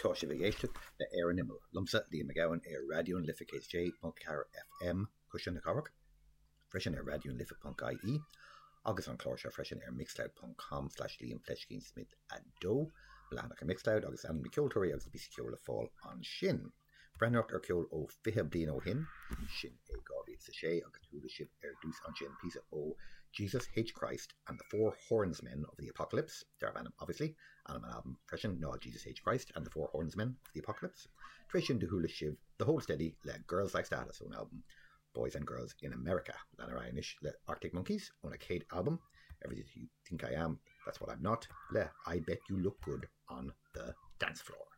Tá sibh ag éisteacht le Ar an Imeall, liomsa, Liam Mac Gabhann, ar Raidió na Life 106.4 FM, Cuisle na Cathrach, freisin ar raidionalife.ie, agus an clár seo freisin ar mixcloud.com slash Liam Fleiscín Smith 2, mo leathanach ar Mixcloud, agus ainm na ceoltóirí agus na píosaí ceoil le fáil ansin. Breathnóireacht ar cheol ó 20 bliain ó shin, sin é 2006, agus chuala sibh ar dtús ansin píosa ó Jesus H. Christ and the Four Hornsmen of the Apocalypse, darb ainm obviously, ainm an albaim freisin ná Jesus H. Christ and the Four Hornsmen of the Apocalypse. Tar éis sin do chuala sibh The Hold Steady le Girls Like Status ón albam Boys and Girls in America. Lean ar aghaidh anois le Arctic Monkeys óna chéad albam Everything You Think I Am, That's What I'm Not le I Bet You Look Good on the Dance Floor.